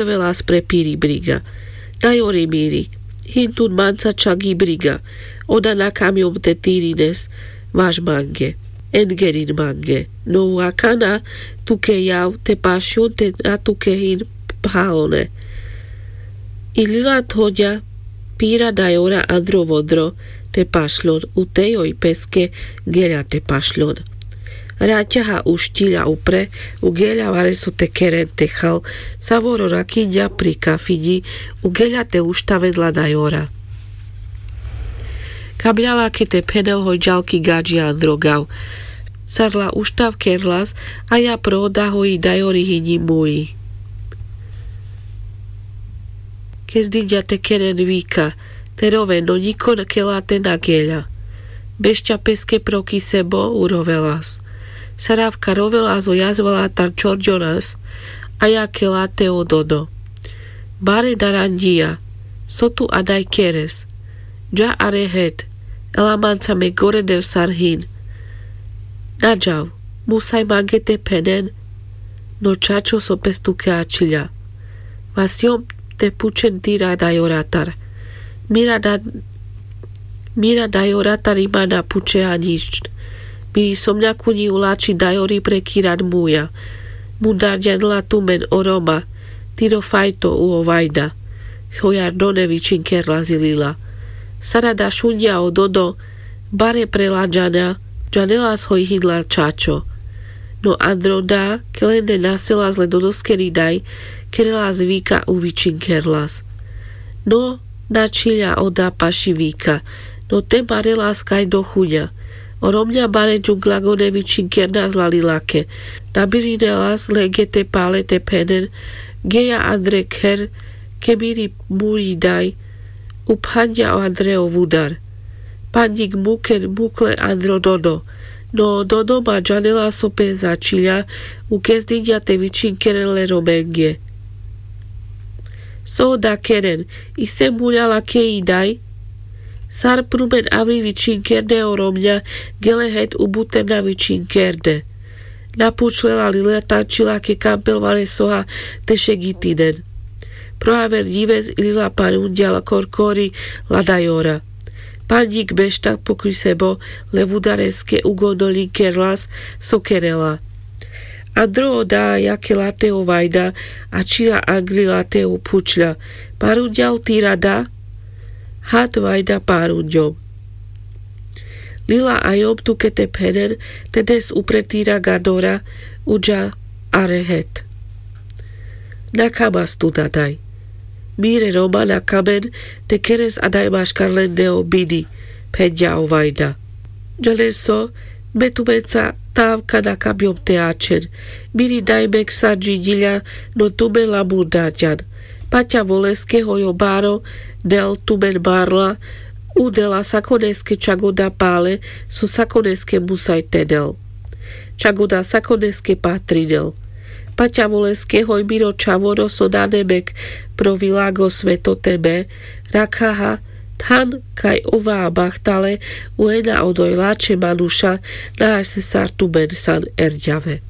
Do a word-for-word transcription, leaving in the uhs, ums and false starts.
Velas pre piri briga. Dajori miri, hin tun manca čagi briga. Oda na kamjom te tirines vaš mange, engerin mange. No u akana tuke jav te pašjon te na tuke hin phalone. I lila thodja pira dajora andro vodro te pašlon, u tejoj peske geľa te pašlon. Raťaha uštilja upre, u geľa vareso te keren te chal, savoro rakinďa pri kafiňi, u geľa te uštaven la dajora. Kabľa lake te phenel hoj džal ki gadži andro gav. Sar la uštav kerlas, a ja pro oda hoj i dajori hinji muji. Kezdinďa te keren vika, te roven, no ňiko ke late na geľa. Bešťa peske pro ki sebo, u rovelas. Saravka rovelas o jazva latar čorďonas, a ja ke late o dodo. Bare daranďija, so tu adaj keres? Dža are het, ela manca me gore del sar hin. Na džav, musaj mange te phenen, no čačo so pes tuke ačhiľa. Vasjom te pučen tira dajoratar. Mira da, mira dajoratar i ma na pučeha ňič. Miri somňa kuňi ulači dajori pre kiran muja. Mudar ďanela tumen o Roma, tiro fajto u o Vajda. Hojar done vičinkerlas i lila. Sara da šunďa o dodo, bare pre la džana, džanelas hoj hin la čačo. No andro da, ke lende naselas le dodoskeri daj, kerelas vika u vičinkerlas. No, na čhiľa oda paši vika, no te marelas kaj do chuňa. O Romňa bare džungľa gone vičinkernas la lilake. Nabirinelas lenge te pale te phenen, geja andre kher, ke miri muri daj, u phanďa andre o vudar. Panďik muken mukle andro dodo. No dodo ma džanela so pes ačhiľa, u kezdinďa te vičinkeren le Romenge. So oda keren, ise muľa lake i daj? Sar prumen avri vičinkerne o Romňa, gele het u buter na vičinkerne. Na pučle la lila tačila ke kampel varesoha te šegitinen. Pro aver ďives i lila parunďa la korkori la dajora. Panďik bešta pokri sebo le vudareske u gondoľinkerlas so kerela. Andro oda ja ke late o Vajda, ačhiľa angri late u pučľa. Parunďal tira da? Hat Vajda parunďom. Lila ajom tuke te phenen, te des upre tira gadora, u dža are het. Na kamas tu dadaj? Mire Roma na kamen, te keres adaj maškar lende o bini, phenďa o Vajda. Džanen so, me tumenca tavka na kabjom te ačhen. Miri daj mek sar džinďiľa, no tumen la murdarďan. Paťa voleske hoj o baro del tumen marla, u dela sakoneske čak oda pale, so sakoneske musaj te del. Čak oda sakoneske patrinel. Paťa voleske hoj miro čhavoro so nane mek pro vilago sveto te me, rakhaha, than kaj ova bahtale, u ena odoj lačhe manuša, na ase sar tumen san erďave.